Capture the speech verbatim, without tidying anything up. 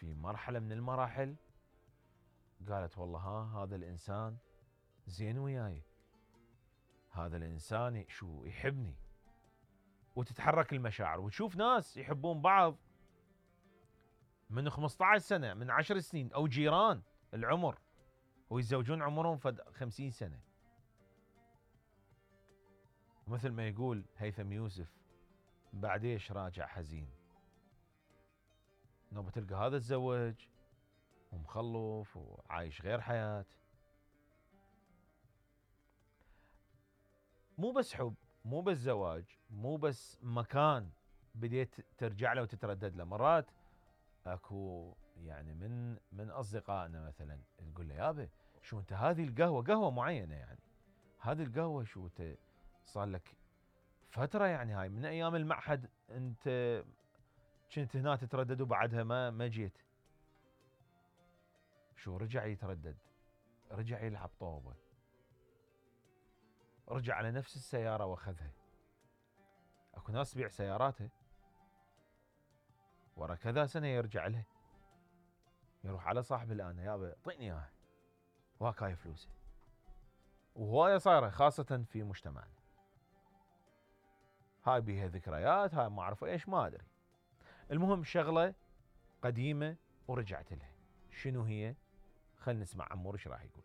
في مرحلة من المراحل قالت والله ها هذا الإنسان زين وياي، هذا الإنسان شو يحبني، وتتحرك المشاعر وتشوف ناس يحبون بعض من خمسة عشر سنة، من عشر سنين، أو جيران العمر، ويتزوجون عمرهم فد خمسين سنة. مثل ما يقول هيثم يوسف بعديش راجع حزين، نوبة تلقى هذا تزوج ومخلف وعايش غير حياة. مو بس حب، مو بس زواج، مو بس مكان بديت ترجع له وتتردد له. مرات اكو يعني من من اصدقائنا مثلا تقول له يابا شو انت هذه القهوة، قهوة معينة يعني، هذه القهوة شو انت صار لك فترة يعني، هاي من ايام المعهد انت كنت هنا تتردد وبعدها ما ما جيت. شو رجع يتردد، رجع يلعب طوبة، رجع على نفس السيارة واخذها. اكو ناس تبيع سياراتها ورا كذا سنة يرجع لها، يروح على صاحب الآن يابا اعطيني اياها وهاك هاي فلوسه. وهواية صايرة خاصة في مجتمعنا، هاي بيها ذكريات، هاي ما اعرف ايش ما ادري. المهم شغلة قديمة ورجعت لها، شنو هي؟ خلينا نسمع عمور ايش راح يقول.